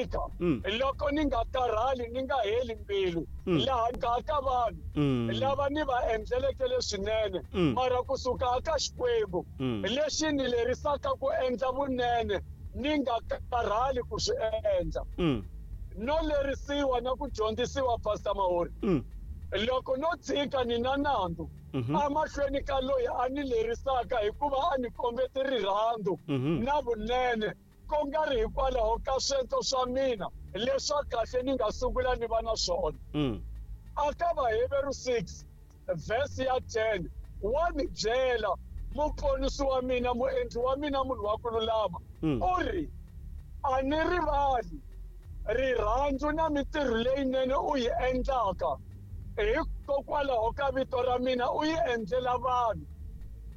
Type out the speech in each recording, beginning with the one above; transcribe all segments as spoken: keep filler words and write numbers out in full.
tshika loko ni nga karhali ni nga heli mbilu laha nga ka vanhu lava ni va endleleke leswinene mara kusuka ka Xikwembu lexi ni lerisaka ku endla vunene ni nga karhali ku swi endla no lerisiwa na ku dyondzisiwa Pastor Mahori loko no tshika ni na nandzu amahlweni ka loyi a ni lerisaka hikuva a ni kombete rirhandzu na vunene ku nga ri hikwalaho ka swento swa mina leswa kahle ni nga sungula ni va na swona aka Vaheveru six verse ya ten wa ni byela muponisi wa mina muendli wa mina munhu wa ku lulama u ri a ni rivali rirhandzu na mintirho leyinene u yi endlaka hikokwalaho ka vito ra mina u yi endlela vanhu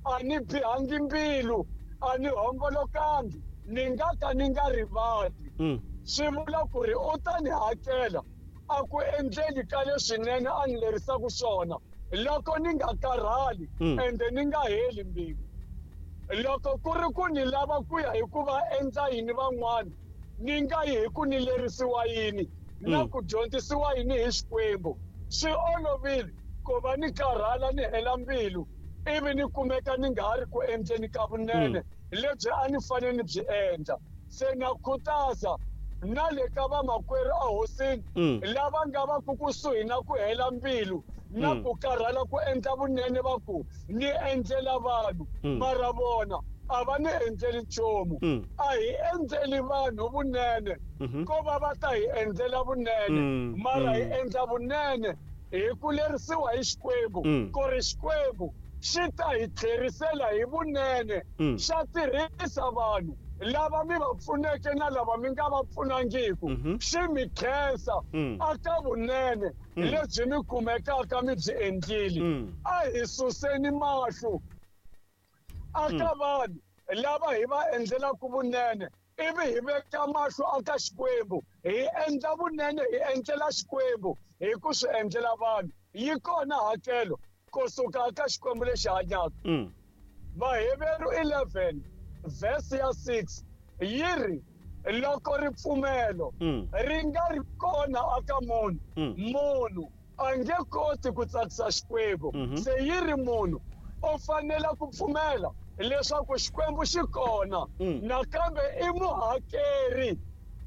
a ni bihangi mbilu a ni hombolokangi ni nga ka ni nga rivali swi vula ku ri u ta ni hakela a ku endleli ka leswinene a ni lerisaka swona loko ni nga karhali ende ni nga heli mbilu loko ku ri ku ni lava ku ya hi ku va endla yini van'wana ni nga yi hi ku ni lerisiwa yini na ku dyondzisiwa yini hi Xikwembu swi olovile ku va ni karhala ni hela mbilu ivi ni kumeka ni nga ha ri ku endleni ka vunene lebyi a ni fanele ni byi endla se na khutaza na le ka vamakwerhu ehosini lava nga va ku kusuhi na ku hela mbilu na ku karhala ku endla vunene va ku ni endlela vanhu mara vona a va ni endleli nchumu a hi endleli vanhu vunene ko va va ta hi endlela vunene mara hi endla vunene hi ku lerisiwa hi Xikwembu ku ri Xikwembu xi ta hi tlherisela hi vunene xa tirhisa vanhu lava mi va pfuneke na lava mi nga va pfunangiku xi mi khensa aka vunene lebyi mi kumekaka mi byi endlile a hi suseni mahlo aka vanhu lava hi va endlelaka vunene ivi hi veka mahlo aka Xikwembu hi endla vunene hi endlela Xikwembu hi ku swi endlela vanhu yi kona hakelo kusuka ka Xikwembu lexi hanyaka Vaheveru eleven verse ya six yi ri loko ripfumelo ri nga ri kona aka munhu munhu a nge koti ku tsakisa Xikwembu se yi ri munhu u fanele ku pfumela leswaku Xikwembu xi kona nakambe i muhakeri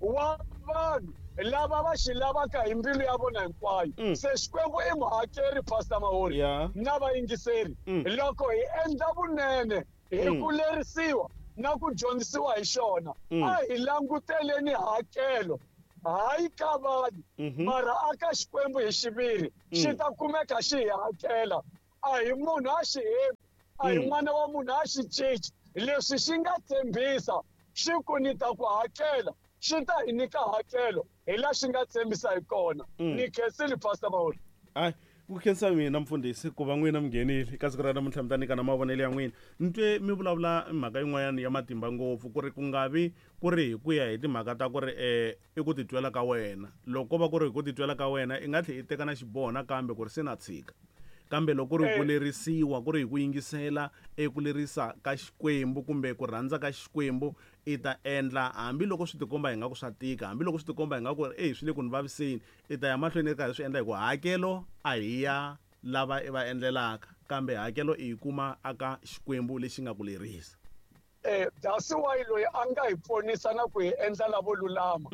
wa vanhu lava va xi lavaka hi mbilu ya vona hinkwayo se Xikwembu i muhakeri Pastor Mahori na vayingiseri loko hi endla vunene hi ku lerisiwa na ku dyondzisiwa hi xona a hi languteleni hakelo hayi ka vanhu mara aka Xikwembu hi xiviri xi ta kumeka xi hi hakela a hi munhu a xi hembi a hi n'wana wa munhu a xi cinci leswi xi nga tshembisa xi ku ni ta ku hakela xi ta hi nyika hakelo hi laha xi nga tshembisa hi kona ni khensile Pastor Mahori hayi ku khensa mina mfundhisi ku va n'wina mi nghenile ka siku ra namuntlha mi ta nyika na mavonelo ya n'wina ni twe mi vulavula mhaka yin'wanyana ya matimba ngopfu ku ri ku nga vi ku ri hi ku ya hi timhaka ta ku ri um i ku titwela ka wena loko ko va ku ri hi ku titwela ka wena i nga tlhela i teka na xiboho nakambe ku ri se na tshika kambe loko ku ri ku lerisiwa ku ri hi ku yingisela eku lerisa ka Xikwembu kumbe ku rhandza ka Xikwembu i ta endla hambiloko swi tikomba hi nga ku swa tika hambiloko swi tikomba hi nga ku ri swi le ku ni vaviseni i ta ya mahlweni i karhi swi endla hi ku hakelo a hi ya lava i va endlelaka kambe hakelo i yi kuma aka Xikwembu lexi nga ku lerisa eh that's why loyi a nga hi ponisa na ku hi endla lavo lulama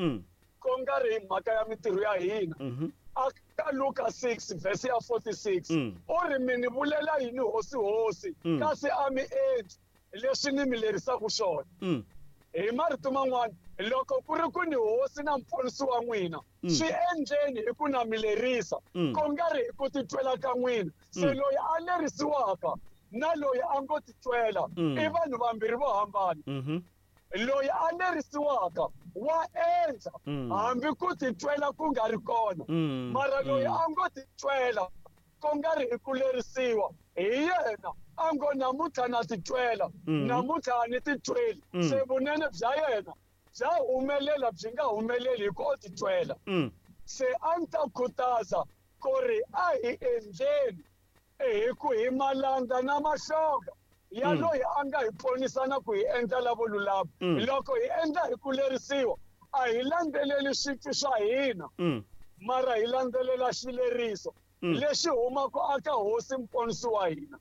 ku nga ri hi mhaka ya mintirho ya hina aka Luka six verse ya forty-six u ri mi ni vulela yini hosi hosi kasi a mi endli leswi ni mi lerisaka swona hi marito man'wana loko ku ri ku ni hosi na muponisi wa n'wina swi endleni hi ku na mi lerisa ku nga ri hi ku titwela ka n'wina se loyi a lerisiwaka na loyi a ngo titwela i vanhu vambirhi vo hambana loyi a lerisiwaka wa endla hambi ku titwela ku nga ri kona mara loyi a ngo titwela ku nga ri hi ku lerisiwa hi yena a ngo namuntlha na titwela namuntlha a ni titweli se vunene bya yena bya humelela byi nga humeleli hi ku o titwela se a ni ta khutaza ku ri a hi endleni hi ku hi malandza na mahlonga ya loyi a nga hi ponisa na ku hi endla lavo lulama loko hi endla hi ku lerisiwa A hi landzeleli switwi swa hina mara hi landzelela xileriso lexi humaka aka hosi mponisi wa hina.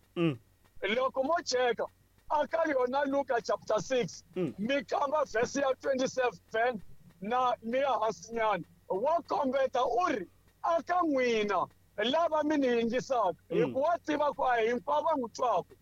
Loko mo cheka aka yona Luka chapter six mi kamba verse ya twenty-seven na mi ya hansinyana wa kombeta u ri aka n'wina lava mi ni yingisaka hikuva tiva ku a hinkwavo va n'wi twaka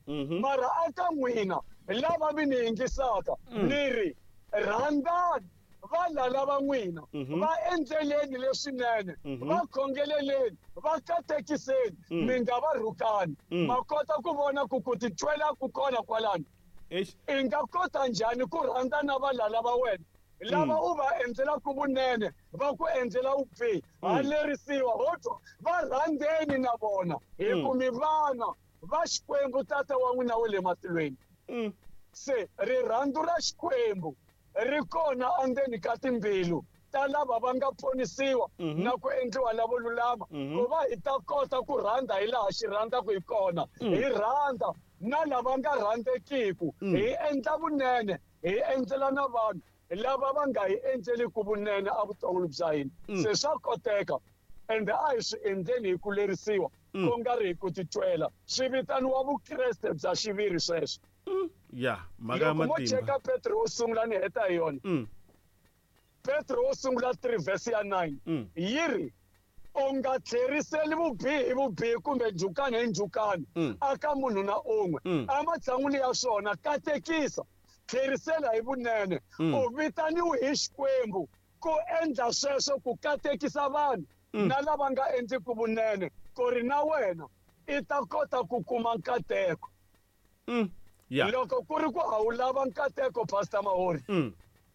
mara aka n'wina lava mi ni yingisaka ni ri rhandzani valala va n'wina va endleleni leswinene va khongeleleni va katekiseni mi nga va rhukani. Ma kota ku vona ku ku titwela ku kona kwalano. I nga kota njhani ku rhandza na valala va wena lava u va endlelaka vunene va ku endlela vubihi? Ha lerisiwa ho twa va rhandzeni na vona hi ku mi vana va Xikwembu tata wa n'wina wa le matilweni. Se rirhandzu ra Xikwembu ri kona endzeni ka timbilu ta lava va nga ponisiwa na ku endliwa lavo lulama ku va hi ta kota ku rhandza hi laha xi rhandzaka hi kona. Hi rhandza na lava nga rhandzekiku, hi endla vunene, hi endlela na vanhu lava va nga hi endleliku vunene evuton'wini bya hina. Se swa koteka ende a hi swi endleni hi ku lerisiwa ku nga ri hi ku titwela. Swi vitaniwa vukreste bya xiviri sweswo. Ya mhaka ya matimba. Loko mo cheka Petro wo sungula ni heta hi yona. Petro wo sungula three verse ya nine yi ri u nga tlheriseli vubihi hi vubihi kumbe njhukani hi njhukani aka munhu na un'we. Ematshan'wini ya swona katekisa, tlherisela hi vunene. U vitaniwe hi Xikwembu ku endla sweswo ku katekisa vanhu na lava nga endliku vunene ku ri na wena i ta kota ku kuma nkateko. Loko ku ri ku a wu lava nkateko Pastor Mahori,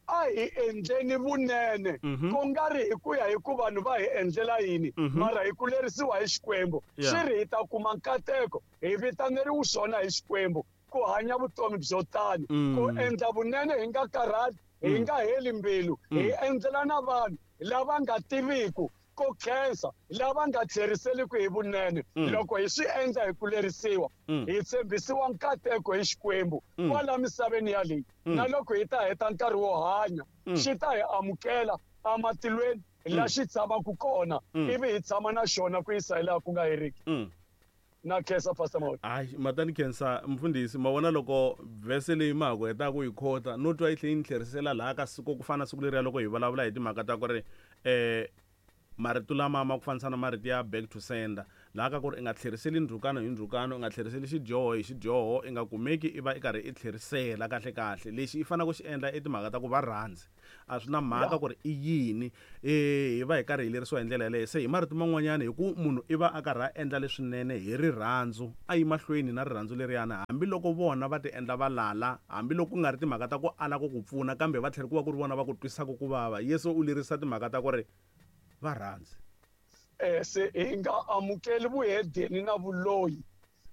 a hi endleni vunene ku nga ri hi ku ya hi ku vanhu va hi endlela yini mara hi ku lerisiwa hi Xikwembu. Swi ri hi ta kuma nkateko, hi vitaneriwe swona hi Xikwembu ku hanya vutomi byo tani, ku endla vunene hi nga karhali, hi nga heli mbilu, hi endlela na vanhu lava nga tiviku ku khensa, lava nga tlheriseliku hi vunene. Loko hi swi endla hi ku lerisiwa, hi tshembisiwa nkateko hi Xikwembu kwala misaveni ya leyi. Na loko hi ta heta nkarhi wo hanya, xi ta hi amukela amatilweni la xi tshamaka kona, ivi hi tshama na xona ku yisa hi laha ku nga heriki. Na khensa Pastor Mahori. Hayi matani khensa mfundhisi, ma vona loko vhese leyi ma ha ku hetaka ku yi khota no twa yi tlhe yi ni tlherisela laha ka siku ku fana siku leriya loko hi vulavula hi timhaka ta ku ri um marito lama ma ku fanisa na marito ya back to sender, laha ka ku ri i nga tlheriseli ndzhukano hi ndzhukano, i nga tlheriseli xidyoho hi xidyoho, i nga kumeki i va i karhi i tlherisela kahle kahle. Lexi i faneleke ku xi endla i timhaka ta ku va rhandzi, a swi na mhaka ku ri i yini, hi va hi karhi hi lerisiwa hi ndlela yaleyo. Se hi marito man'wanyana hi ku munhu i va a karhi a endla leswinene hi rirhandzu, a yi mahlweni na rirhandzu leriyana, hambiloko vona va ti endla valala, hambiloko ku nga ri timhaka ta ku ala ku ku pfuna, kambe va tlhela ku va ku ri vona va ku twisaka ku vava. Yesu u lerisa timhaka ta ku ri va rhandzi. Eh se hi nga amukeli vuhedeni na vuloyi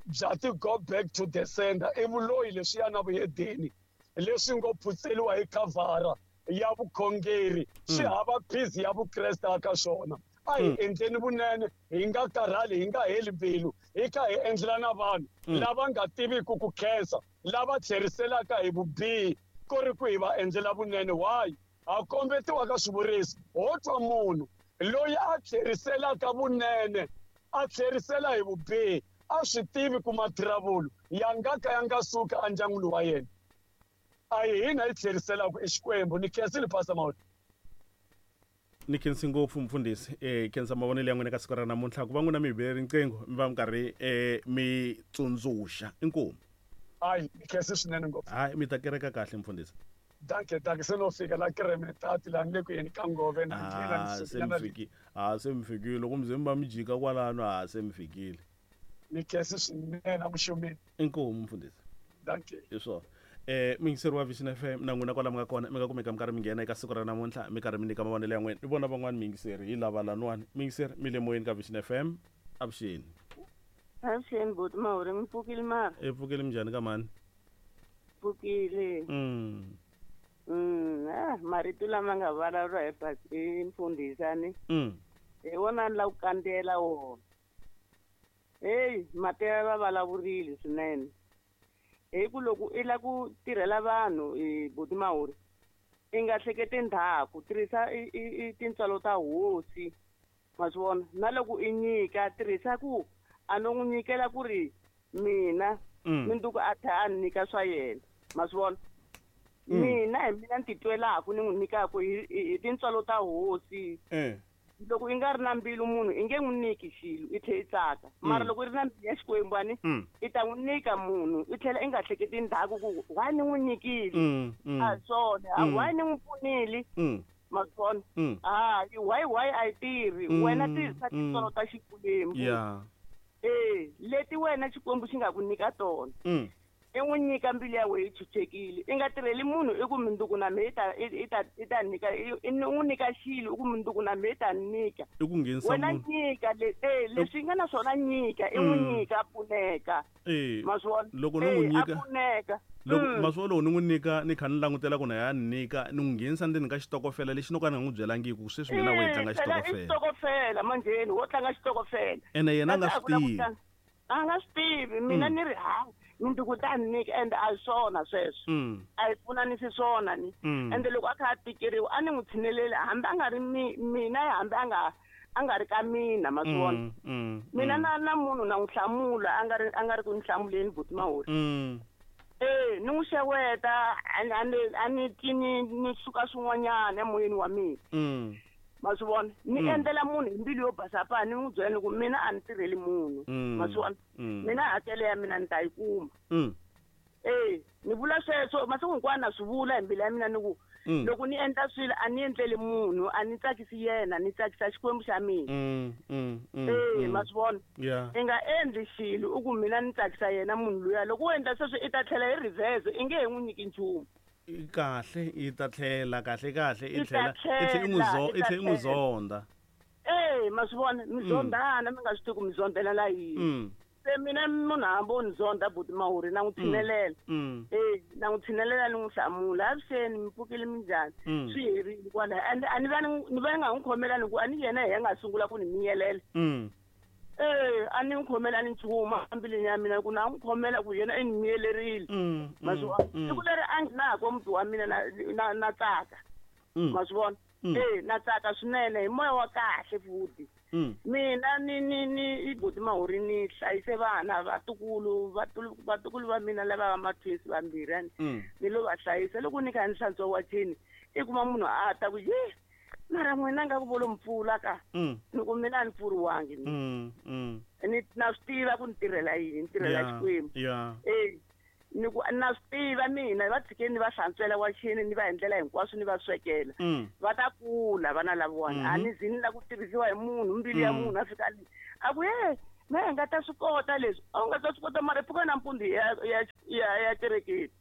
bya ti go back to the sender. I vuloyi leswiya na vuhedeni leswi ngo phutseliwa hi khavhara ya vukhongeri, swi hava phizi ya vukreste aka swona. A hi endleni vunene, hi nga karhali, hi nga heli mbilu, hi kha hi endlela na vanhu lava nga tiviku ku khensa, lava tlheriselaka hi vubihi ku ri ku hi va endlela vunene. Why? A kombetiwa ka swivuriso ho twa munhu loyi a tlheriselaka vunene a tlherisela hi vubihi a swi tivi ku mathiravulu ya nga ka ya nga suka endyangwini wa yena. A hi hina hi tlheriselaka i Xikwembu. Ni khensile Pastor Mahori. Ni khensi ngopfu mfundhisi, eh khensa mavonelo ya n'wina ka siku ra namuntlha ku va n'wina mi hi bele riqingho mi va mi karhi eh mi tsundzuxa. Inkomu. Hayi ni khensi swinene ngopfu. Hayi mi ta kereka kahle mfundhisi. Danke, danke. Se no fika la Kremetati la ni le ku yeni ka Ngove na ndlela ni se mi fikile. Ah se mi fikile loko mi ze mi va mi jika kwalano, ah se mi fikile. Ni khensi swinene amuxumini. Inkomu mfundhisi. Danke. Hi swona. Eh muyingiseri wa Vision F M na n'wina kwala mi nga kona mi nga kumeka mi karhi mi nghena eka siku ra namuntlha mi karhi mi nyika mavonelo ya n'wina. Ni vona van'wani muyingiseri hi lava lan'wani. Muyingiseri mi le moyeni ka Vision F M. Avuxeni. Avuxeni buti Mahori, mi pfukile mara? E pfukile minjhani ka mani? Pfukile. Mm. Mm, ah, marito lama nga vulavuriwa hi hi mfundhisani. Mm. Hi wona ni lava ku kandziyela wona. Heyi, mati va vulavurile swinene. Hi ku loko i lava ku tirhela vanhu hi buti Mahori, I nga hleketi ndzhaku tirhisa i tintswalo ta hosi ma swi vona na loko i nyika tirhisa ku a no n'wi nyikela ku ri mina minduku a tlhela a nyika swa yena ma swi vona mina hi mina ni titwelaku ni n'wi nyikaku hi tintswalo ta hosi loko i nga ri na mbilu munhu i nge n'wi nyiki xilo i tlhela i tsaka mara loko i ri na mbilu ya Xikwembu ani i ta n'wi nyika munhu i tlhela i nga hleketi ndzhaku ku why ni n'wi nyikile a hi swona why ni n'wi pfunile ma swi vona hayi why why a yi tirhi wena tirhisa tintswalo ta Xikwembu eh leti wena Xikwembu xi nga ku nyika tona i n'wi nyika mbilu ya wena yi chuchekile i nga tirheli munhu i ku minduku na mehe i ta i ta i ta nyika i n'wi nyika xilo i ku minduku na mehe i ta nyika i ku nghenisa wena nyika le eh leswi nga na swona nyika i n'wi nyika a pfuneka eh ma swi vona loko ni n'wi nyika a pfuneka loko ma swi vona loko ni n'wi nyika ni kha ni langutela ku na ya nyika ni n'wi nghenisa ndzeni ka xitokofela lexi no ka ni nga n'wi byelangiki ku sweswi mina wo hi tlanga xitokofela xitokofela manjheni wo tlanga xitokofela ene yena a nga swi tivi a nga swi tivi mina ni ri ha minduku ta nyika ende a hi swona sweswo a hi pfunanisi swona ni ende loko a kha a tikeriwa a ni n'wi tshineleli hambi a nga ri mina hambi a nga a nga ri ka mina ma swi vona mina na na munhu na n'wi hlamula a nga ri a nga ri ku ni hlamuleni buti Mahuri eh ni n'wi xeweta a ni a ni twi ni ni suka swin'wanyana emoyeni wa mina ma swi vona ni endlela munhu hi mbilu yo basa pa ni n'wi byela ni ku mina a ni tirheli munhu ma swi vona mina hakelo ya mina ni ta yi kuma eh ni vula sweswo masiku hinkwawo na swi vula hi mbilu ya mina ni ku loko ni endla swilo a ni endleli munhu a ni tsakisi yena ni tsakisa Xikwembu xa mina eh ma swi vona i nga endli xilo u ku mina ni tsakisa yena munhu luya loko u endla sweswo i ta tlhela hi reverse i nge he n'wi nyiki nchumu kahle i ta tlhela kahle kahle i tlhela i tlhela i n'wi zo i tlhela i n'wi zonda eh ma swi vona mi zondana mi nga swi tivi ku mi zondela la yini se mina munhu hambi o ni zonda buti Mahuri na n'wi tshinelela eh na n'wi tshinelela ni n'wi hlamula avuxeni mi pfukile minjhani swi herile kwalaho ende a ni va ni va ni nga n'wi khomelani ku a ni yena hi nga sungula ku ni miyelela eh a ni n'wi khomelani nchumu embilwini ya mina ku na n'wi khomela ku yena i ni miyelerile ma swi vona siku leri a nghenaka muti wa mina na na na tsaka ma swi vona eh na tsaka swinene hi moya wa kahle futhi mina ni ni ni i buti Mahuri ni hlayise vana vatukulu vatukulu va mina lava va ma-twins vambirhi ani ni lo va hlayisa loko ni kha ni hlantswa wacheni i kuma munhu a ta ku ye mara n'wina nga ku volo mpfula ka ni ku mina a ni pfuriwangi ni na swi tiva ku ni tirhela yini ni tirhela Xikwembu eh ni ku na swi tiva mina va tshikeni ni va hlantswela wacheni ni va endlela hinkwaswo ni va swekela va ta kula vana lavawani a ni zi ni la ku tirhisiwa hi munhu mbilu ya munhu a fika a ku ye me hi nga ta swi kota leswi a wu nga ta swi kota mara pfuka nampundzu ya ya ya ya kerekeni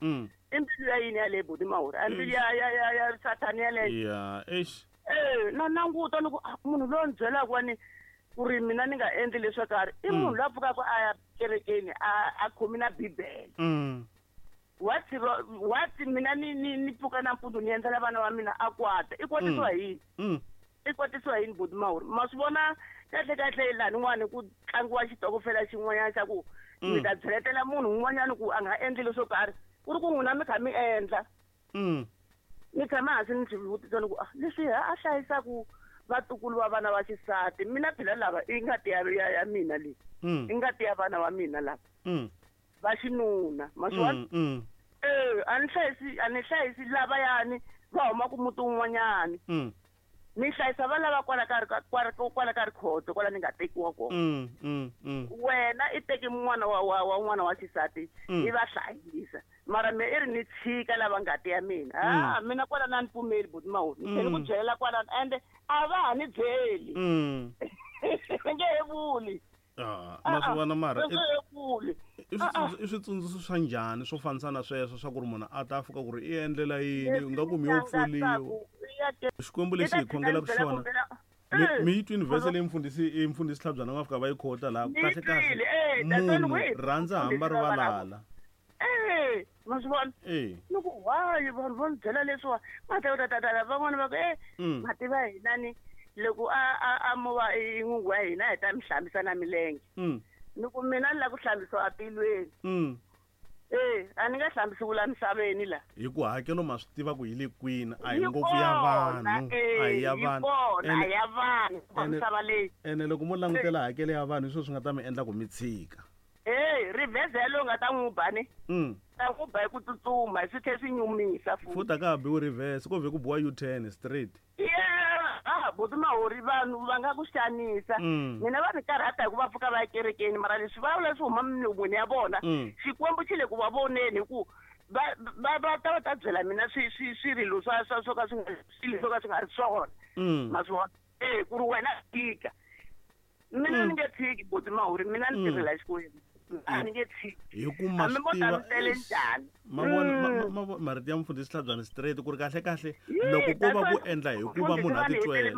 i mbilu ya yini yaleyo buti Mahuri a mbilu ya ya ya ya sathani yaleyo ya eish eh na languta ni ku munhu loyi ni byelaka wa ni ku ri mina ni nga endli leswo karhi i munhu loyi a pfukaka a ya kerekeni a a khomi na bibele what what mina ni ni ni pfuka nampundzu ni endlela vana va mina a kwata i kwatisiwa hi yini i kwatisiwa yini buti Mahuri ma swi vona kahle kahle laha n'wana ku tlangiwa xitokofela xin'wanyana xa ku mi ta byeletela munhu un'wanyana ku a nga endli leswo karhi ku ri ku n'wina mi kha mi endla ni tshama hansi ni swi vutisa ni ku leswi a hlayisaku vatukulu va vana va xisati mina phela lava i ngati ya ya ya mina leyi i ngati ya vana va mina lava va xinuna ma swi vona eh a ni hlayisi a ni hlayisi lavayani va humaka muti wun'wanyani ni hlayisa va lava kwala ka kwala kwala ka rikhoto kwala ni nga tekiwa kona wena i teke n'wana wa wa wa n'wana wa xisati i va hlayisa mara me i ri ni tshika lava ngati ya mina ah mina kwala na ni pfumeli buti Mahuri ni tlhela ku byelela kwala ende a va ha ni byeli ni nge he vuli ah ma swi vona mara i i switsundzuxo swa njhani swo fanisa na sweswo swa ku ri munhu a ta fika ku ri i endlela yini u nga ku mi yo pfuliwa Xikwembu lexi hi khongelaka xona mi yi twini vhese leyi mfundhisi i mfundhisi Tlhabyana nga fika va yi khota laha kahle kahle munhu rhandza hamba ri valala eh ma swi vona ni ku why vanhu va ni byela leswiwa ma ta ta ta van'wana va ku eh ma tiva hina ni loko a a a mo va i n'wingi wa hina hi ta mi hlambisa na milenge ni ku mina ni lava ku hlambisiwa atilweni Eh, a ni nga hlambisiwi la misaveni la. Hi ku hakelo ma swi tiva ku yi le kwini, a hi ngopfu ya vanhu, a hi ya vanhu. A hi ya vanhu va misava leyi. Ene loko mo langutela hakelo ya vanhu hi swona swi nga ta mi endla ku mi tshika. Eh, reverse yalowo nga ta n'wi ba ni. Mm. Ta n'wi ba hi ku tsutsuma, swi tlhela swi nyumisa futhi. Futhi a ka ha biwi reverse, ko vhe ku biwa U-turn straight. Yeah, ah, buti Mahori vanhu va nga ku xanisa. Mina va ni karhata hi ku va pfuka va ya kerekeni, mara leswi va vula swi huma milon'wini ya vona. Xikwembu xi le ku va voneni hi ku va va va ta va ta byela mina swi swi swirilo swa swa swo ka swi nga swilo swo ka swi nga ri swona. Ma swi vona? Eh, ku ri wena tika. Mina ni nge tshiki buti Mahori, mina ni tirhela Xikwembu. A ni nge tshiki. Hi ku ma swi tiva ma vona marito ya mfundhisi Tlhabyani straight ku ri kahle kahle loko ko va ku endla hi ku va munhu a titwela.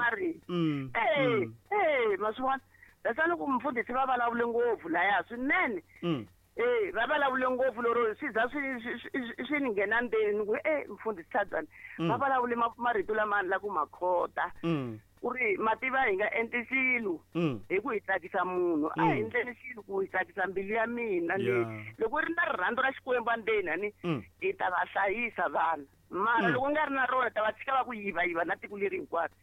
Eh, eh, ma swi vona? That's why loko mfundhisi va vulavule ngopfu laya swinene. Eh, va vulavule ngopfu lero swi za swi swi ni nghena ndzeni ku eh mfundhisi Tlhabyani va vulavule marito lama la ku makhota. Ku ri mativa hi nga endli xilo hi ku hi tsakisa munhu, a hi endleni xilo ku hi tsakisa mbilu ya mina leyi. Loko ri na rirhandzu ra Xikwembu endzeni ani hi ta va hlayisa vana, mara loko nga ri na rona ta va tshika va ku yiva yiva na tiko leri hinkwaro.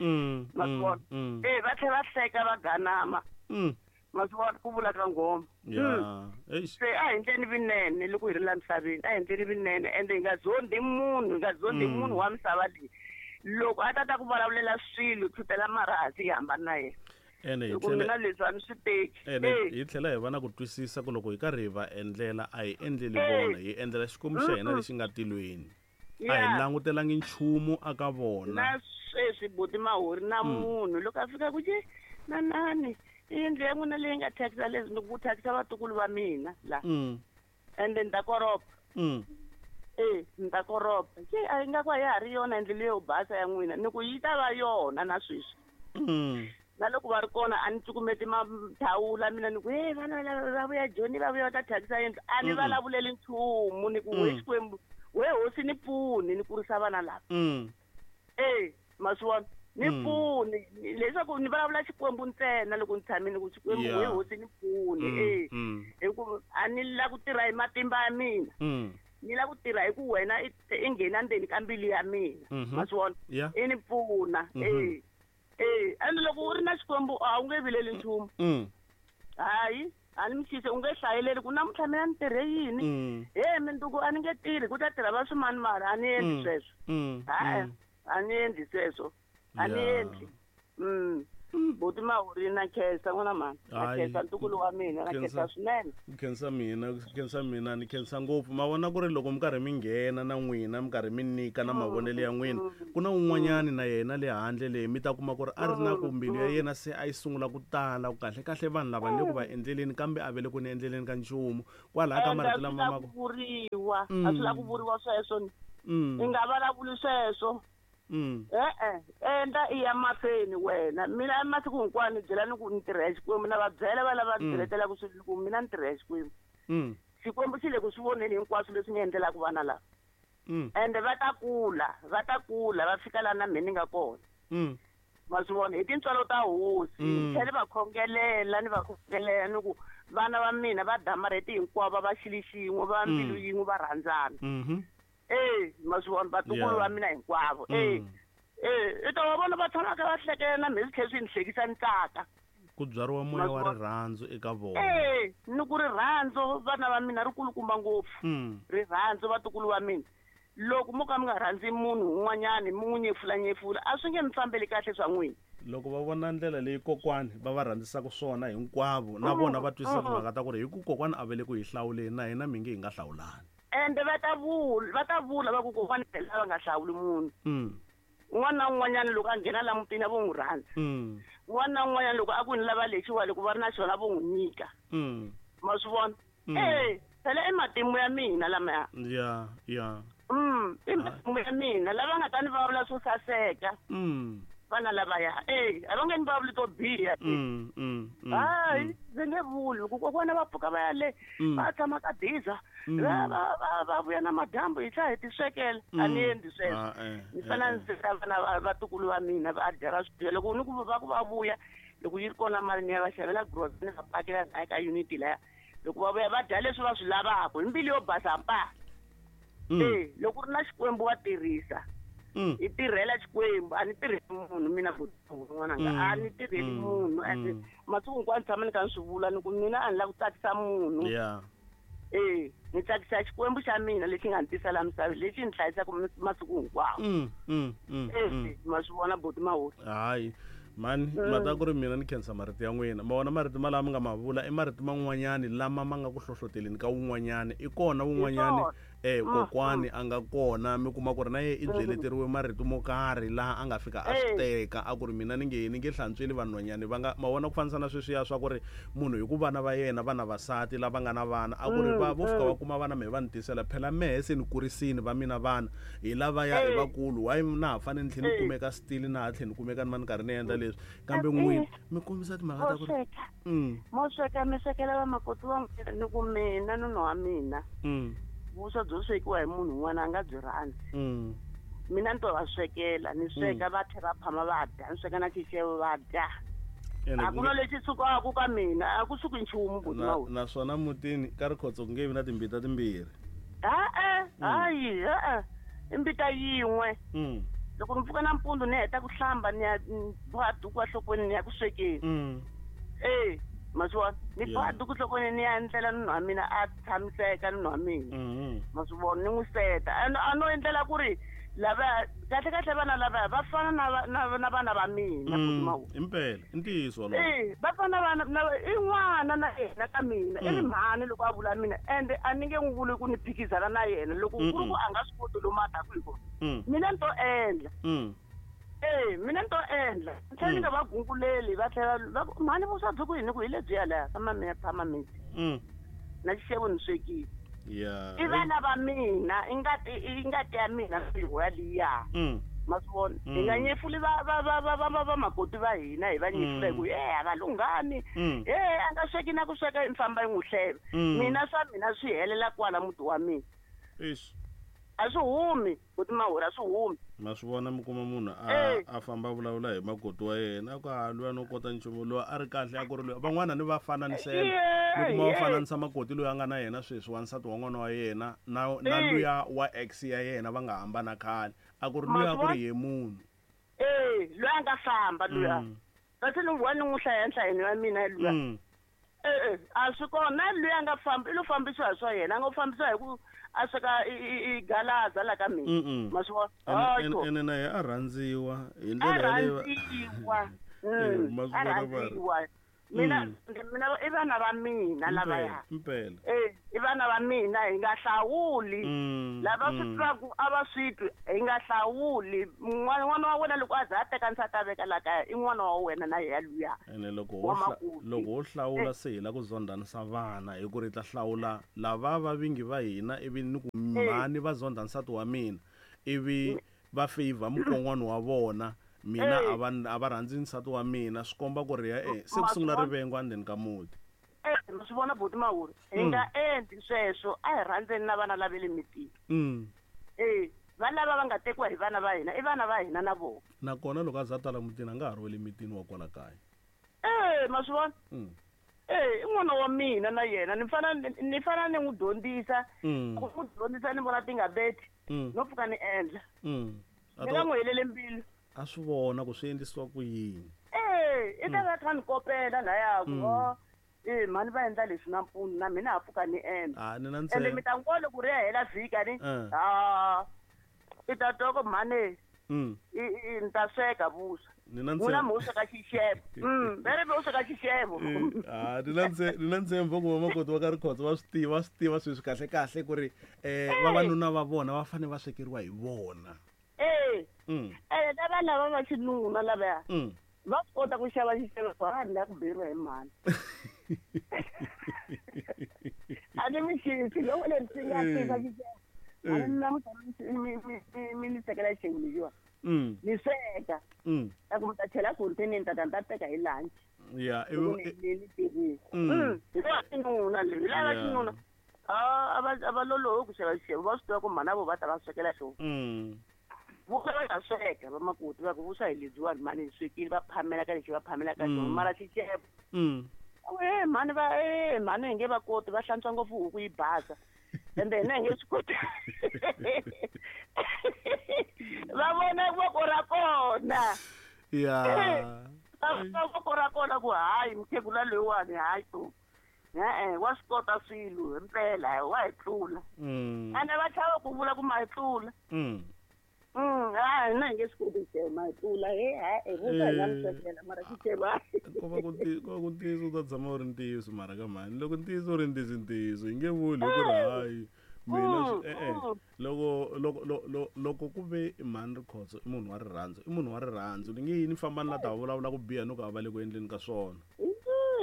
Ma swi vona? Eh, va tlhela va hleka va ganama. Ma swi vona ku vula ka nghoma. Se a hi endleni vinene loko hi ri la misaveni, a hi endleni vinene ende hi nga zondhi munhu, hi nga zondhi munhu wa misava leyi. Loko a ta ta ku vulavulela swilo tshutela marhasi hi hambana na yena. Ene hi tlhela mina leswi a ni swi teki. Ene hi tlhela hi va na ku twisisa ku loko hi karhi hi va endlela a hi endleli vona, hi endlela Xikwembu xa hina lexi nga tilweni. A hi langutelangi nchumu aka vona. Na sweswi buti Mahori na munhu loko a fika ku je nanani yindlu ya n'wina leyi nga thyakisa leswi ni ku thyakisa vatukulu va mina la. Ende ni ta koropa. Eh, ni ta koropa. Ke a yi nga ku a ya ha ri yona yindlu leyo basa ya n'wina, ni ku yi ta va yona na sweswi. Na loko va ri kona a ni cukumeti mathawula mina ni ku he vana va vuya Joni va vuya va ta thyakisa yindlu, a ni vulavuleli nchumu ni ku we Xikwembu we hosi ni pfuni ni kurisa vana lava. Eh, ma swi vona? Ni pfuni leswaku ni vulavula Xikwembu ntsena loko ni tshamile ku Xikwembu we hosi ni pfuni. Eh, hi ku a ni la ku tirha hi matimba ya mina. Ni la ku tirha hi ku wena i nghena ndzeni ka mbilu ya mina. Ma swi vona? I ni pfuna. Eh, eh, ende loko u ri na Xikwembu a wu nge vileli nchumu. Hayi, a ni mi xise u nge hlayeleli ku namuntlha mina ni tirhe yini. He minduku a ni nge tirhi ku ta tirha va swimani mara a ni endli sweswo. Hayi, a ni endli sweswo. A ni endli. Buti Mahori na khensa n'wana mhani. Na khensa ntukulu wa mina, na khensa swinene. Khensa mina, khensa mina, ni khensa ngopfu. Ma vona ku ri loko mi karhi mi nghena na n'wina, mi karhi mi nyika na mavonelo ya n'wina, ku na un'wanyani na yena le handle leyi mi ta kuma ku ri a ri na ku mbilu ya yena se a yi sungula ku tala ku kahle kahle vanhu lava le ku va endleleni kambe a ve le ku ni endleleni ka nchumu. Kwalaha ka marito lama ma ku vuriwa, a swi la ku vuriwa sweswo. I nga vulavuli sweswo. Eh eh, endla i ya mahlweni wena. Mina masiku hinkwawo ni byela ni ku ni tirha Xikwembu, na va byela va lava byeletelaku swilo ku mina ni tirha Xikwembu. Xikwembu xi le ku swi voneni hinkwaswo leswi ni endlelaka vana lava. Ende va ta kula, va ta kula va fika laha na mina ni nga kona. Ma swi vona hi tintswalo ta hosi. Ni tlhela va khongelela ni va khongelela ni ku vana va mina va damarheti hinkwavo va xilo xin'we, va mbilu yin'we, va rhandzana. Eh, ma swi vona vatukulu va mina hinkwavo. Eh, eh, i ta va vona va tshama ka va hlekela na mina swi tlhela swi ni hlekisa ni tsaka. Ku byariwa moya wa rirhandzu eka vona. Eh, ni ku rirhandzu vana va mina ri kulukumba ngopfu. Rirhandzu vatukulu va mina. Loko mo ka mi nga rhandzi munhu un'wanyani mi n'wi nyefula nyefula a swi nge mi fambeli kahle swa n'wina. Loko va vona ndlela leyi kokwani va va rhandzisaka swona hinkwavo na vona va twisisa timhaka ta ku ri hi ku kokwani a ve le ku hi hlawuleni na hina mi nge hi nga hlawulani. Ende va ta vula, va ta vula va ku kokwani lava nga hlawuli munhu. Un'wana na un'wanyana loko a nghena la mutini a vo n'wi rhandza. Un'wana na un'wanyana loko a ku ni lava lexiwa loko va ri na xona vo n'wi nyika. Ma swi vona? Eh, phela i matimu ya mina lamaya. Ya, ya. Mm, i matimu ya mina lava nga ta ni vulavula swo saseka. Vana lavaya, eh, a va nge ni vulavuli to biha. Hayi, ndzi nge vuli ku kokwana va pfuka va ya le, va tshama ka diza, va va va va vuya na madyambu hi tlhela hi ti swekela. A ni endli sweswo. Ni fanele ndzi teka vana va vatukulu va mina va dya va swi dya. Loko ni ku va ku va vuya, loko yi ri kona mali ni ya va xavela grocery ni va pakela laha ka unit laya. Loko va vuya va dya leswi va swi lavaka hi mbilu yo basa mpa. Eh, loko ri na Xikwembu wa tirhisa. I tirhela Xikwembu, a ni tirheli munhu mina n'wananga, a ni tirheli munhu. Masiku hinkwawo ni tshama ni kha ni swi vula ni ku mina a ni lava ku tsakisa munhu. Yeah. Eh, ni tsakisa Xikwembu xa mina lexi nga ni tisa laha misaveni, lexi ni hlayisaka masiku hinkwawo. Mm, mm, mm. Eh, ma swi vona buti Mawuri. Hayi. Mani, mata ku ri mina ni khensa marito ya n'wina. Ma vona marito malama nga ma vula i marito man'wanyani lama ma nga ku hlohloteleni ka wun'wanyani. I kona wun'wanyani eh kokwani a nga kona mi kuma ku ri na ye i byeleteriwe marito mo karhi laha a nga fika a swi teka a ku ri mina ni nge ni nge hlantsweli vanhwanyani va nga ma vona ku fanisa na sweswiya swa ku ri munhu hi ku vana va yena vana vasati lava nga na vana a ku ri va vo fika va kuma vana mehe va ni tisela phela mehe se ni kurisini va mina vana hi lavaya i vakulu why na ha fanele ni tlhela ni kumeka still na ha tlhela ni kumeka ni va ni karhi ni endla leswi kambe n'wina mi kombisa timhaka ta ku ri mo sweka mi swekela vamakoti va n'wina ni ku mina nuna wa mina vuswa byo swekiwa hi munhu un'wana a nga byi rhandzi. Mina ni to va swekela ni sweka va tlhela va phama va dya ni sweka na xixevo va dya. A ku na lexi sukaka ka mina a ku suki nchumu buti Mawuri. Naswona mutini ka Rikhotso ku nge vi na timbita timbirhi. E-e hayi e-e i mbita yin'we. Loko ni pfuka nampundzu ni heta ku hlamba ni ya boha duku enhlokweni ni ya ku swekeni. Eh, ma swi vona ni boha duku enhlokweni ni ya endlela nuna wa mina a tshamiseka nuna wa mina. Ma swi vona ni n'wi seta a no endlela ku ri lava kahle kahle vana lava va fana na na na vana va mina. Impela i ntiyiso wolowo. Eh, va fana vana na i n'wana na yena ka mina i ri mhani loko a vula mina ende a ni nge n'wi vuli ku ni phikizana na yena loko ku ri ku a nga swi koti lomu a taku hi kona. Mina ni to endla. Eh, mina ni to endla. Ni tlhela ni nga va gunguleli va tlhela va ku mhani vuswa byi ku yini ku hi lebyiya laha ka mamiya phama miti. Na xixevo ni swekile. Yeah. I vana va mina i ngati i ngati ya mina mbilu ya liya. Ma swi vona hi nga nyefuli va va va va va va makoti va hina hi va nyefula hi ku eh a va lunghani eh a nga sweki na ku sweka i famba i n'wi hleva. Mina swa mina swi helela kwala muti wa mina. Eish. A swi humi buti Mawuri a swi humi. Ma swi vona mi kuma munhu a a famba vulavula hi makoti wa yena a ku a luya no kota nchumu loyi a ri kahle a ku ri loyi van'wana ni va fananisela mi kuma va fananisa makoti loyi a nga na yena sweswi wansati wa n'wana wa yena na na luya wa ex ya yena va nga hambana khale a ku ri luya a ku ri ye munhu. Eh, loyi a nga famba luya. Kasi ni wa ni n'wi hlaya nhlayeni ya mina luya. Eh, a swi kona loyi a nga famba i lo fambisiwa hi swa yena a nga fambisiwa hi ku a sweka i galaza la ka mina. Ma swi vona ene na ye a rhandziwa hi ndlela yaleyo. A rhandziwa. A rhandziwa. Mina mina i vana va mina lavaya. Impela. Eh, i vana va mina hi nga hlawuli. Lava swi twaku a va swi twi hi nga hlawuli. N'wana wa wena loko a za a teka nsati a veka la kaya i n'wana wa wena na yena luya. Ene loko wo loko wo hlawula se hi la ku zondhanisa vana hi ku ri ta hlawula lava va vingi va hina ivi ni ku mhani va zondha nsati wa mina ivi va favor mukon'wana wa vona. Mina a va a va rhandzi nsati wa mina swi komba ku ri ya eh se ku sungula rivengo endzeni ka muti. Eh, ma swi vona buti Mawuri hi nga endli sweswo a hi rhandzeni na vana lava le mitini. Eh, va lava va nga tekiwa hi vana va hina i vana va hina na vona. Nakona loko a za tala mutini a nga ha ri wa le mitini wa kwala kaya. Eh, ma swi vona. Eh, i n'wana wa mina na yena ni fana ni fana ni n'wi dyondzisa ku n'wi dyondzisa ni vona ti nga beti no pfuka ni endla. Ni nga n'wi helele mbilu. A swi vona ku swi endlisiwa ku yini. Eh, i ta va kha ni kopela laya ku ho eh mhani va endla leswi nampundzu na mina ha pfuka ni endla. Ah, ni na ntsena. Ende mi ta n'wi loko ri ya hela vhiki ni. Ah. I ta twa ku mhani i i ni ta sweka vuswa. Ni na ntsena. N'wina mi sweka xixevo. Mm, vere mi sweka xixevo. Ah, ni na ntsena, ni na ntshembo ku vamakoti va ka Rikhotso va swi tiva, va swi tiva sweswi kahle kahle ku ri eh vavanuna va vona va fanele va swekeriwa hi vona. Eh. Eh, lava lava va xinuna lavaya. Va swi kota ku xava xixevo va ni ku beriwa hi mhani. A ni mi xisi loko leri swi nga tika xixevo. A ni na mi mi ni sekela xixevo lexiwa. Ni sweka. Ta ku mi ta chela container ni ta ta ni ta teka hi lunch. Yeah, ni ni tirhisa. Hi va xinuna leyi lava xinuna. Ah, a va a va lolohi ku xava xixevo va swi tiva ku mhana vo va ta va swekela xona. Vuswa va nga sweka vamakoti va ku vuswa hi lebyiwani mhani hi swekile va phamela ka lexi va phamela ka xona mara xixevo Eh mhani va eh mhani hi nge va koti va hlantswa ngopfu huku yi basa. Ende hina hi nge swi koti. Va vona voko ra kona. Ya. Va vona voko ra kona ku hayi mukhegula loyiwani hayi to. E-e wa swi kota swilo himpela wa hi tlula. Ende va chava ku vula ku ma hi tlula. Mm. Mm, hayi hina hi nge swi koti ku ma hi tlula he hayi vuswa hi nga mi swekela mara xixevo ko va ku ko va ku ntiyiso u ta tshama u ri ntiyiso mara ka mhani loko ntiyiso u ri ntiyiso ntiyiso hi nge vuli hi ku ri hayi mina e-e loko loko loko ku ve mhani Rikhotso i munhu wa rirhandzu i munhu wa rirhandzu ni nge yini famba ni la ta vulavula ku biha no ku a va le ku endleni ka swona.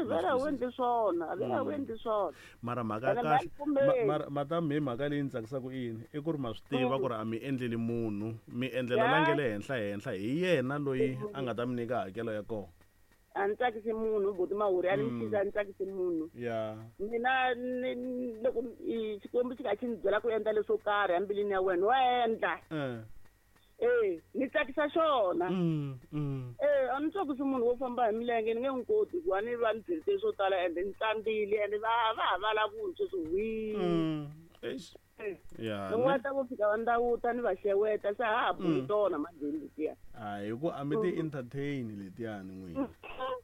Vela u endli swona vela u endli swona mara mhaka ya kahle mara mata mi mhaka leyi ni tsakisaka i yini i ku ri ma swi tiva ku ri a mi endleli munhu mi endlela la nge le henhla henhla hi yena loyi a nga ta mi nyika hakelo ya kona. A ni tsakisi munhu buti Mawuri a ni mutshisa a ni tsakisi munhu. Ya mina loko Xikwembu xi kha xi ni byela ku endla leswo karhi embilwini ya wena wa endla. Eh ni tsakisa xona. Eh a ni tsakisi munhu wo famba hi milenge ni nge n'wi koti hikuva ni va ni byelite swo tala ende ni tsandzile ende va va ha vulavuli sweswi hwii. Eish. Ya. Loko ta ku fika va ndawuta ni va xeweta se ha ha buli tona manjheni letiya. A hi ku a mi ti entertain letiyani n'wina.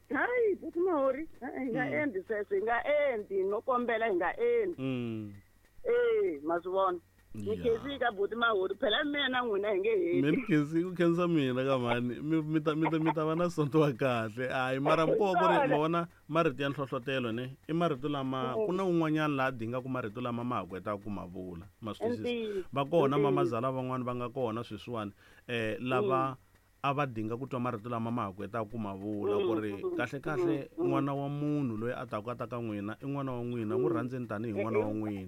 Hayi buti Mawuri hi nga endli sweswo hi nga endli no kombela hi nga endli. Eh ma swi vona. Ni khensi ka buti Mawuri phela mina na n'wina hi nge heti. Mina khensi ku khensa mina ka mhani mi ta mi ta mi ta va na sonto wa kahle. Hayi mara ko ku ri ma vona marito ya nhlohlotelo ne i marito lama ku na un'wanyana laha dingaku marito lama ma ha ku hetaka ku ma vula ma swi twisisa. Va kona mamazala van'wani va nga kona sweswiwani eh lava a va dinga ku twa marito lama ma ha ku hetaka ku ma vula ku ri kahle kahle n'wana wa munhu loyi a taka a ta ka n'wina i n'wana wa n'wina n'wi rhandzeni tanihi n'wana wa n'wina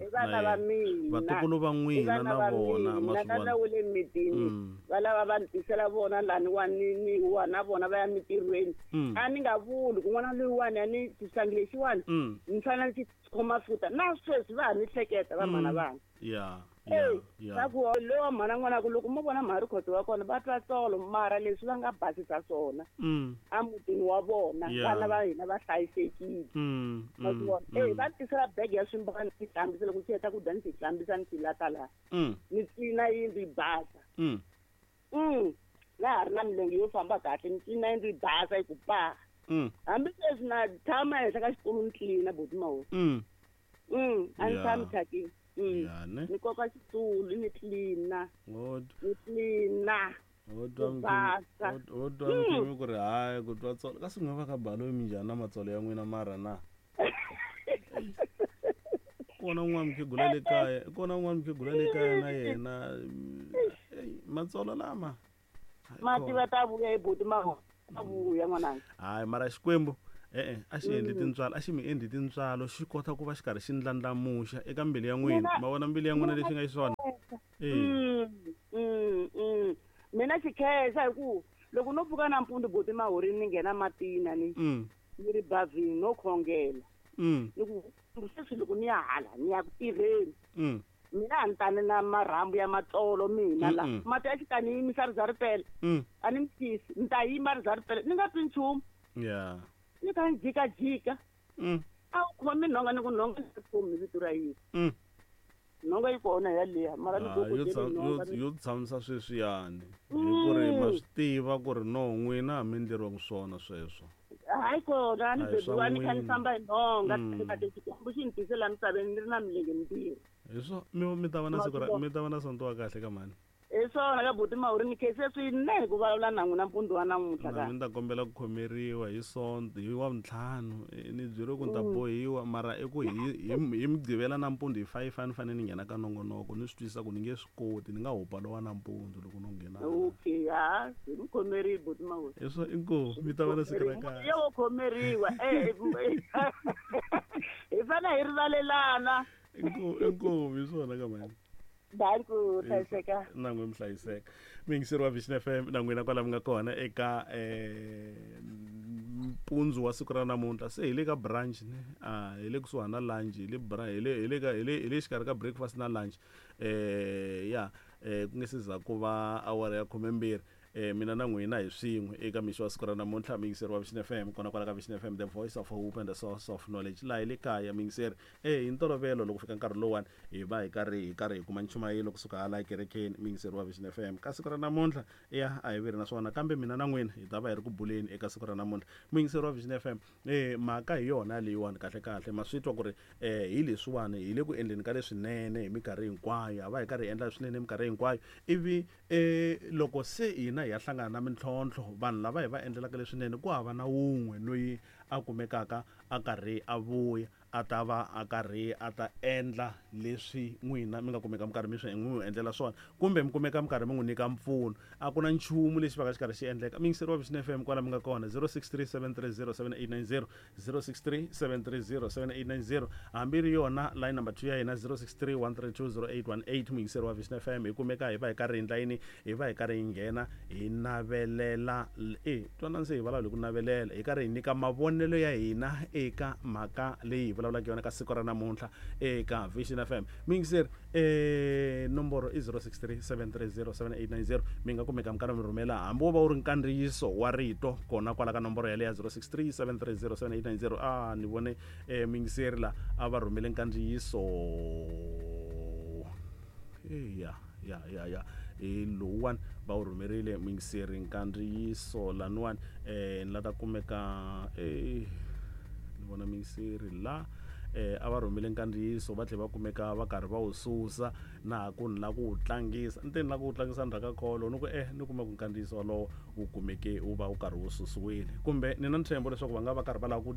vatukulu va n'wina na vona ma swi vona va le mitini va lava va ni tisela vona lani wa ni ni wa na vona va ya mitirhweni a ni nga vuli ku n'wana loyiwani a ni xihlangi lexiwani ni fanele ni xi khoma futa na sweswi va ha ni hleketa va mhana vana. Ya. Eh va ku lowa mhana n'wana ku loko mo vona mhani Rikhotso wa kona va twa tsolo mara leswi va nga basisa swona emutini wa vona vana va hina va hlayisekile. Ma swi vona eh va tisela bege ya swimbalo ni hlambisa loko xi heta ku dya ni xi hlambisa ni xi lata laha ni tlina yindlu yi basa. Mm na ha ri na milenge yo famba kahle ni tlina yindlu yi basa yi ku pa. Hambi sweswi na tshama ehenhla ka xitulu ni tlina buti Mawuri. Mm a ni tshami thyakini. Ya ne ni koka xitulu ni tlina ni tlina ho twa ho twa mkhimi ku ri hayi ku twa tsolo kasi n'we va ka balo minjhani na matsolo ya n'wina mara na kona un'wana mukhegula le kaya kona un'wana mukhegula le kaya na yena matsolo lama mati va ta vuya hi buti Mawuri ta vuya n'wananga. Hayi mara Xikwembu e-e a xi endli tintswalo a xi mi endli tintswalo xi kota ku va xi karhi xi ndlandlamuxa eka mbilu ya n'wina ma vona mbilu ya n'wina lexi nga xiswona. Mina xi khensa hi ku loko no pfuka nampundzu buti Mawuri ni nghena matini ni ni ri bavhini no khongela ni ku sweswi loko ni ya hala ni ya ku tirheni mina a ni tani na marhambu ya matsolo mina la mati ya xikani yimisa ri za ri pela a ni mi tisi ni ta yima ri za ri pela ni nga twi nchumu. Ya ni kha ni jikajika a wu khomi nhonga ni ku nhonga ni khomi vito ra Yesu nhonga yi kona yaliya mara ni yo yo tshamisa sweswiyani hi ku ri ma swi tiva ku ri no n'wina a mi endleriwangi swona sweswo. Hayi kona a ni bebiwa ni kha ni famba hi nhonga Xikwembu xi ni tise laha misaveni ni ri na milenge mimbirhi. Hi swo mi mi ta va na siku ra mi ta va na sonto wa kahle ka mhani. Hi swona ka buti Mawuri ni khense swinene ku vulavula na n'wina mpundzu wa namuntlha ka. Ni ta kombela ku khomeriwa hi sonto hi wa ntlhanu ni byeriwe ku ni ta bohiwa mara i ku hi hi hi mugqivela nampundzu hi five a ni fanele ni nghena ka nongonoko ni swi twisisa ku ni nge swi koti ni nga hupa lowa nampundzu loko no nghena. Okay ha hi mi khomerile buti Mawuri. Hi swo inkomu mi ta va na siku ra kahle. Yo wo khomeriwa eh hi fanele hi rivalelana. Inkomu inkomu hi swona ka mhani. Danku hlayiseka. Na n'we mi hlayiseka. Muyingiseri wa Vision F M na n'wina kwala mi nga kona eka eh mpundzu wa siku ra namuntlha se hi le ka brunch ne a hi le kusuhani na lunch hi le hi le hi le ka hi le hi le xikarhi ka breakfast na lunch eh ya eh ku nge se za ku va awara ya khumembirhi. eh mina na n'wina hi swin'we eka mixo wa siku ra namuntlha muyingiseri wa Vision F M kona kwala ka Vision F M, the voice of hope and the source of knowledge. Laha hi le kaya muyingiseri eh hi ntolovelo loko fika nkarhi lowuwani hi va hi karhi hi karhi hi kuma nchumayelo kusuka hala ekerekeni muyingiseri wa Vision F M. Ka siku ra namuntlha ya a hi veri na swona, kambe mina na n'wina hi ta va hi ri ku buleni eka siku ra namuntlha muyingiseri wa Vision F M. Eh mhaka hi yona leyiwani kahle kahle ma swi twa ku ri eh hi leswiwani hi le ku endleni ka leswinene hi minkarhi hinkwayo, a va hi karhi hi endla swinene hi minkarhi hinkwayo, ivi eh loko se hina hi ya hlangana na mintlhontlho vanhu lava hi va endlelaka leswinene ku hava na wun'we loyi a kumekaka a karhi a vuya a ta va a karhi a ta endla leswi n'wina mi nga kumeka mi karhi mi swi n'wi endlela swona, kumbe mi kumeka mi karhi mi n'wi nyika mpfuno. A ku na nchumu lexi va ka xi karhi xi endleka. Muyingiseri wa Vision F M kwala mi nga kona zero six three seven three zero seven eight nine zero, zero six three seven three zero seven eight nine zero, hambi ri yona line number two ya hina zero six three one three two zero eight one eight. Muyingiseri wa Vision F M hi kumeka hi va hi karhi hi ndla yini, hi va hi karhi hi nghena hi navelela e twana se hi vulavula hi ku navelela, hi karhi hi nyika mavonelo ya hina eka mhaka leyi hi vulavulaka yona ka siku ra namuntlha eka Vision F M. Muyingiseri eh nomboro i zero six three seven three zero seven eight nine zero, mi nga kumeka mi karhi mi rhumela hambi wo va wu ri nkandziyiso wa rito kona kwala ka nomboro yaleyo ya zero six three seven three zero seven eight nine zero. A ni vone eh muyingiseri la a va rhumele nkandziyiso ya ya ya ya hi lowuwani va wu rhumerile muyingiseri nkandziyiso laniwani eh ni la ta kumeka eh ni vona muyingiseri la eh a va rhumele nkandziyiso va tlhela va kumeka va karhi va wu susa na ha ku ni la ku wu tlangisa ni te ni la ku wu tlangisa ndzhaku ka kholo ni ku eh ni kuma ku nkandziyiso walowo wu kumeke wu va wu karhi wu susiwile, kumbe ni na ntshembo leswaku va nga va karhi va lava ku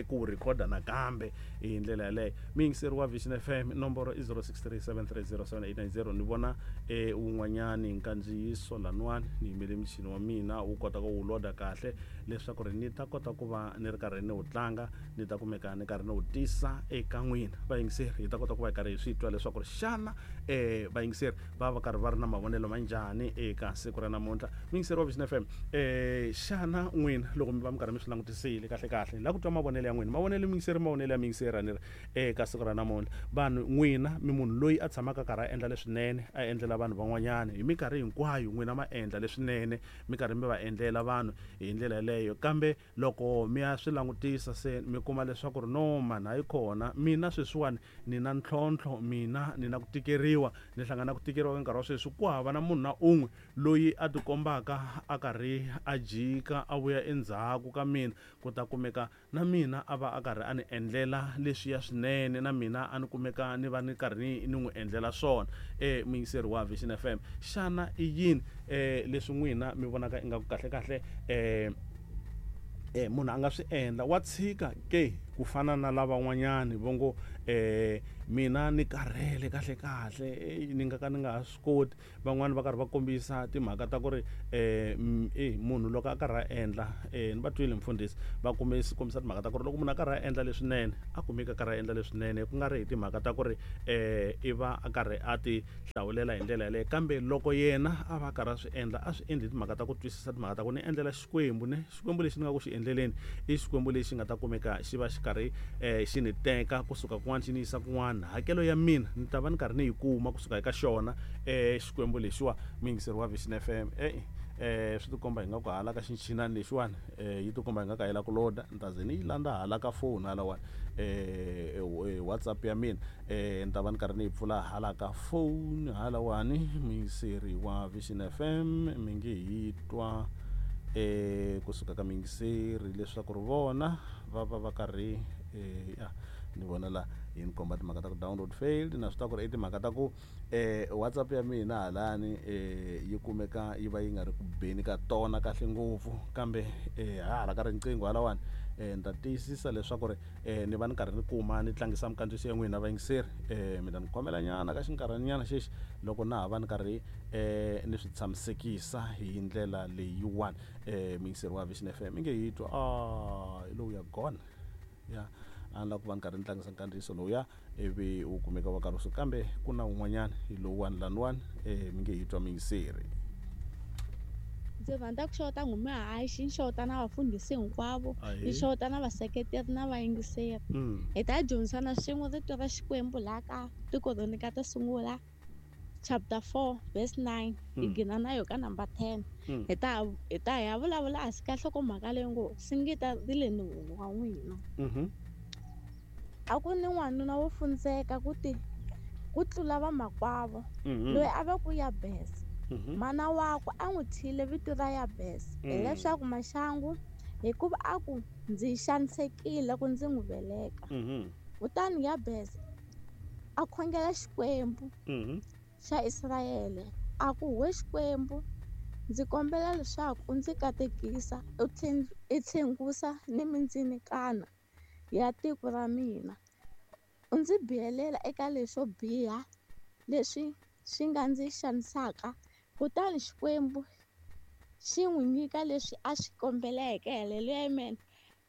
ku wu rhikhoda nakambe hi ndlela yaleyo. Muyingiseri wa Vision F M nomboro i zero six three seven three zero seven eight nine zero. Ni vona eh wun'wanyani nkandziyiso laniwani ni yimele muchini wa mina wu kota ku wu loda kahle leswaku ri ni ta kota ku va ni ri karhi ni wu tlanga, ni ta kumeka ni karhi ni wu tisa eka n'wina vayingiseri, hi ta kota ku va hi karhi hi swi twa leswaku ri xana eh vayingiseri va va karhi va ri na mavonelo ma njhani eka siku ra namuntlha. Muyingiseri wa Vision F M, eh xana n'wina loko mi va mi karhi mi swi langutisile kahle kahle la ku twa mavonelo ya n'wina, mavonelo muyingiseri mavonelo ya muyingiseri a ni ri eka siku ra namuntlha, vanhu n'wina mi munhu loyi a tshamaka karhi a endla leswinene a endlela vanhu van'wanyana hi minkarhi hinkwayo, n'wina ma endla leswinene mi karhi mi va endlela vanhu hi ndlela yaleyo, kambe loko mi ya swi langutisa se mi kuma leswaku ri no mani hayi kona mina sweswiwani ni na ntlhontlho, mina ni na ku tikeriwa, ni hlangana ku tikeriwa ka nkarhi wa sweswi, ku hava na munhu na un'we loyi a tikombaka a karhi a jika a vuya endzhaku ka mina ku ta kumeka na mina a va a karhi a ni endlela leswiya swinene, na mina a ni kumeka ni va ni karhi ni n'wi endlela swona. Eh muyingiseri wa Vision F M, xana i yini eh leswi n'wina mi vonaka ingaku kahle kahle eh eh munhu a nga swi endla wa tshika ke ku fana na lavan'wanyani vo ngo eh mina ni karhele kahle kahle ni nga ka ni nga ha swi koti. Van'wani va karhi va kombisa timhaka ta ku ri eh eh munhu loko a karhi a endla eh ni va twile mfundhisi va kombisa kombisa timhaka ta ku ri loko munhu a karhi a endla leswinene a kumeka a karhi a endla leswinene, ku nga ri hi timhaka ta ku ri eh i va a karhi a ti hlawulela hi ndlela yaleyo, kambe loko yena a va a karhi a swi endla a swi endli hi timhaka ta ku twisisa timhaka ta ku ni endlela Xikwembu ne Xikwembu lexi ni nga ku xi endleleni i Xikwembu lexi nga ta kumeka xi va xi karhi eh xi ni teka kusuka kun'wana xi ni yisa kun'wana, hakelo ya mina ni ta va ni karhi ni yi kuma kusuka eka xona eh Xikwembu lexiwa. Muyingiseri wa Vision F M, eh eh swi tikomba hi nga ku hala ka xinchinani lexiwani eh yi tikomba hi nga ka yi la ku loda, ni ta ze ni yi landza hala ka phone halawani eh WhatsApp ya mina eh ni ta va ni karhi ni yi pfula hala ka phone halawani. Muyingiseri wa Vision F M mi nge hi twa eh kusuka ka muyingiseri leswaku ri vona va va va karhi eh ya ni vona la yi ni komba timhaka ta ku download failed, na swi ta ku ri i timhaka ta ku eh WhatsApp ya mina halani eh yi kumeka yi va yi nga ri ku beni ka tona kahle ngopfu, kambe eh hala ka riqingho halawani eh ni ta tiyisisa leswaku ri eh ni va ni karhi ni kuma ni tlangisa minkandziyiso ya n'wina vayingiseri eh mi ta ni khomela nyana ka xinkarhanyana xexi loko na ha va ni karhi eh ni swi tshamisekisa hi ndlela leyiwani. Eh muyingiseri wa Vision F M i nge hi twa ah hi lowu ya gone ya a ni lava ku va ni karhi ni tlangisa nkandziyiso lowuya ivi wu kumeka wa karhi wu suka, kambe ku na wun'wanyana hi lowuwani laniwani eh mi nge hi twa muyingiseri. Ndzi rhandza ku xeweta n'humuhaxi, ni xeweta na vafundhisi hinkwavo, ni xeweta na vaseketeri na vayingiseri. Hi ta dyondzisana swin'we rito ra Xikwembu laha ka tikoroni ka to sungula chapter four verse nine hi gina na yo ka number ten. Hi ta hi ta ya vulavula hansi ka nhlokomhaka leyi ngo singita ri le non'wini wa n'wina. A ku ni n'wanuna wo fundzeka ku ti ku tlula vamakwavo loyi a va ku Yabes. Mana wakwe a n'wi thyile vito ra Yabes hileswaku maxangu, hikuva a ku ndzi xanisekile ku ndzi n'wi veleka. Kutani Yabes a khongela Xikwembu xa Israyele a ku, we Xikwembu, ndzi kombela leswaku u ndzi katekisa u tlhengusa ni mindzinikana ya tiko ra mina, u ndzi bihelela eka leswo biha leswi swi nga ndzi xanisaka. Kutani Xikwembu xi n'wi nyika leswi a swi kombeleke. Haleluya, amen.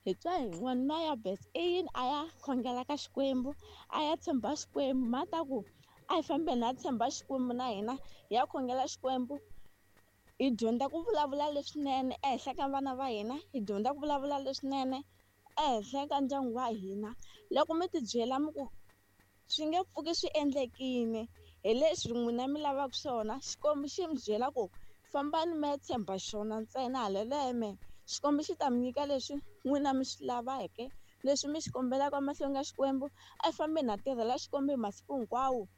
Hi twa hi n'wanuna Yabes i yini a ya khongela ka Xikwembu, a ya tshemba Xikwembu. Mhata ku a hi fambeni ha tshemba Xikwembu na hina, hi ya khongela Xikwembu, hi dyondza ku vulavula leswinene ehenhla ka vana va hina, hi dyondza ku vulavula leswinene ehenhla ka ndyangu wa hina. Loko mi tibyela mi ku swi nge pfuki swi endlekile hi leswi n'wina mi lavaka swona, Xikwembu xi mi byela ku fambani mi ya tshemba xona ntsena. Haleluya, amen. Xikwembu xi ta mi nyika leswi n'wina mi swi laveke, leswi mi xi kombelaka emahlweni ka Xikwembu. A hi fambeni ha tirhela Xikwembu hi masiku hinkwawo,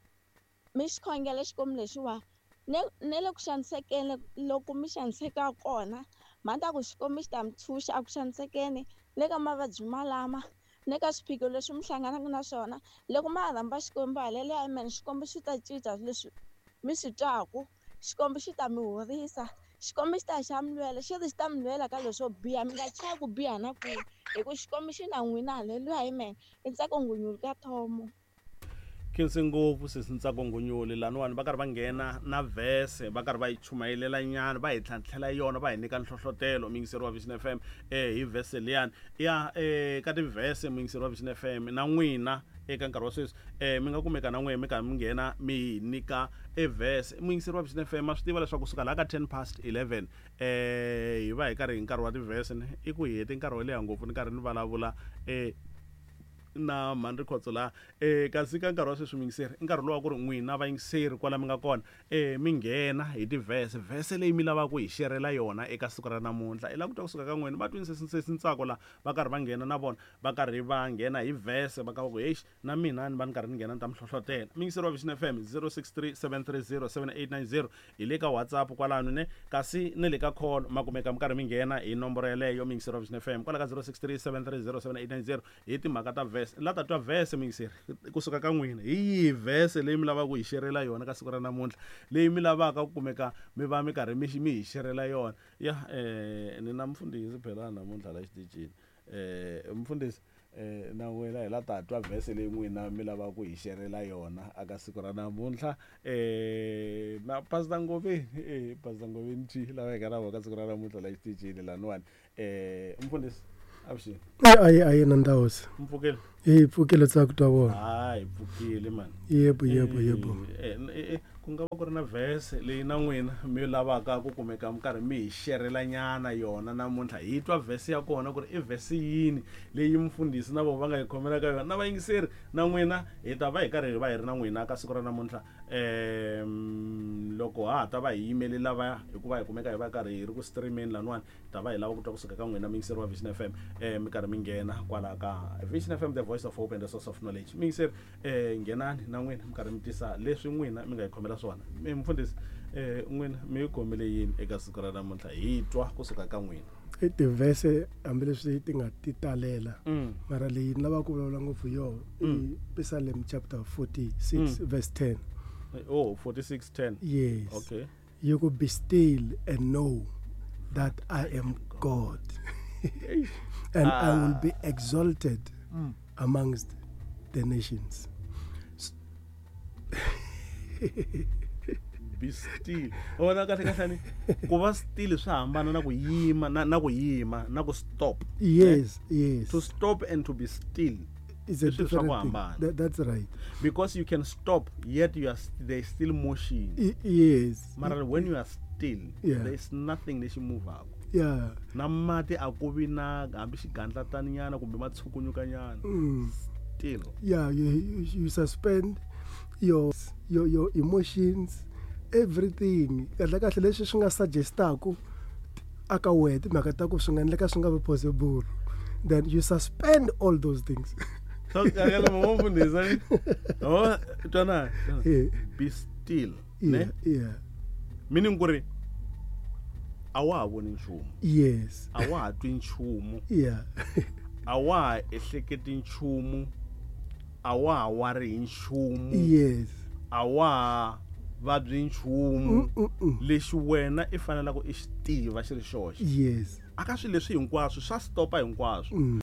mi xi khongela Xikwembu lexiwa ne ne le ku xanisekeni loko mi xaniseka kona, mhata ku Xikwembu xi ta mi tshunxa a ku xanisekeni le ka mavabyi malama ne ka swiphiqo leswi mi hlanganaka na swona. Loko ma rhamba Xikwembu, haleluya, amen, Xikwembu xi ta cinca leswi mi swi twaku, Xikwembu xi ta mi horisa, Xikwembu xi ta xa mi lwela, xi ri xi ta mi lwela ka leswo biha, mi nga chavi ku biha na kwihi, hi ku Xikwembu xi na n'wina. Haleluya, amen. I Ntsako Ngunyuli ka Thomo. Khensi ngopfu sesi Ntsako Ngunyuli. Laniwani va karhi va nghena na vhese, va karhi va yi chumayelela nyana, va hi tlhantlhela yona, va hi nyika nhlohlotelo muyingiseri wa Vision F M eh hi vhese liyani ya eh ka tivhese. Muyingiseri wa Vision F M na n'wina eka nkarhi wa sweswi eh mi nga kumeka na n'wina mi karhi mi nghena mi hi nyika e vhese. Muyingiseri wa Vision F M ma swi tiva leswaku kusuka laha ka ten past eleven eh hi va hi karhi hi nkarhi wa tivhese ne i ku hi hete nkarhi wo leha ngopfu ni karhi ni vulavula eh na Mhandri Khotso laha eh kasi ka nkarhi wa sweswi muyingiseri i nkarhi lowu wa ku ri n'wina vayingiseri kwala mi nga kona eh mi nghena hi tivhese, vhese leyi mi lavaka ku hi xerela yona eka siku ra namuntlha. I lava ku twa kusuka ka n'wina. Va twini sesi sesi Ntsako laha va karhi va nghena na vona, va karhi va nghena hi vhese, va ka va ku heyi na mina ni va ni karhi ni nghena ni ta mi hlohlotela. Muyingiseri wa Vision F M zero six three seven three zero seven eight nine zero hi le ka WhatsApp kwalano ne kasi ni le ka call ma kumeka mi karhi mi nghena hi nomboro yeleyo. Muyingiseri wa Vision F M kwala ka zero six three seven three zero seven eight nine zero hi timhaka ta vhese. La ta twa vhese muyingiseri kusuka ka n'wina, hi yihi vhese leyi mi lavaka ku hi xerela yona ka siku ra namuntlha, leyi mi lavaka ku kumeka mi va mi karhi mi mi hi xerela yona? Ya eh ni na mufundhisi phela namuntlha la xitichini. Eh mufundhisi eh na wena hi la ta twa vhese leyi n'wina mi lavaka ku hi xerela yona aka siku ra namuntlha. Eh na Pastor Ngoveni, eh Pastor Ngoveni T lava hi nga na vona ka siku ra namuntlha la xitichini laniwani. Eh mufundhisi avuxeni. Ayi ayi na ndhawu. Mpfukile. Eh pfukile tsaka twa vona. Hayi pfukile man. Yebo yebo yebo. Eh eh ku nga va ku ri na vhese leyi na n'wina mi lavaka ku kumeka mi karhi mi hi xerela nyana yona namuntlha, hi twa vhese ya kona ku ri i vhese yini leyi mufundhisi na vona va nga yi khomela ka yona. Na vayingiseri na n'wina hi ta va hi karhi hi va hi ri na n'wina ka siku ra namuntlha eh loko ha ha ta va hi yimele lava hikuva hi kumeka hi va karhi hi ri ku streameni laniwani, ta va hi lava ku twa kusuka ka n'wina muyingiseri wa Vision F M eh mi karhi mi nghena kwala ka Vision F M, the voice of hope and the source of knowledge. Muyingiseri eh nghenani na n'wina mi karhi mi tisa leswi n'wina mi nga hi khomela swona. Mufundhisi eh n'wina mi yi khomele yini eka siku ra namuntlha, hi twa kusuka ka n'wina? I tivhese hambileswi ti nga ti talela, mara leyi ni lavaka ku vulavula ngopfu yo i Psalm chapter forty-six verse ten. Oh, forty-six ten. Yes. Okay. You could be still and know that I am God, and ah. I will be exalted mm. amongst the nations. Be still. Wona kahle kahle ni ku va still swi hambana na ku yima na na ku yima na ku stop. Yes, yes. To stop and to be still is a different thing. That, that's right. Because you can stop yet you are there is still motion. I, yes. Mara when you are still, yeah. there is nothing lexi move-aka. Yeah. Na mati a ku vi na hambi xigandlataninyana kumbe ma tshukunyukanyana. Mm. Still. Yeah, you, you, you suspend your your your emotions, everything. Kahle kahle leswi swi nga suggestaku aka wehe timhaka ta ku swi nga endleka swi nga vi possible, then you suspend all those things. So kakela mfundisi, oh twana, Yeah. be still, yeah ne? Yeah. Meaning ku ri a wa ha voni nchumu, yes a wa ha twi nchumu, yeah a wa ha ehleketi nchumu, a wa ha wari hi nchumu, yes a wa ha vabyi nchumu. Mm, mm. Lexi wena i fanelaka i xi tiva xi ri xoxe yes aka swilo leswi hinkwaswo swa stopa hinkwaswo. Mm.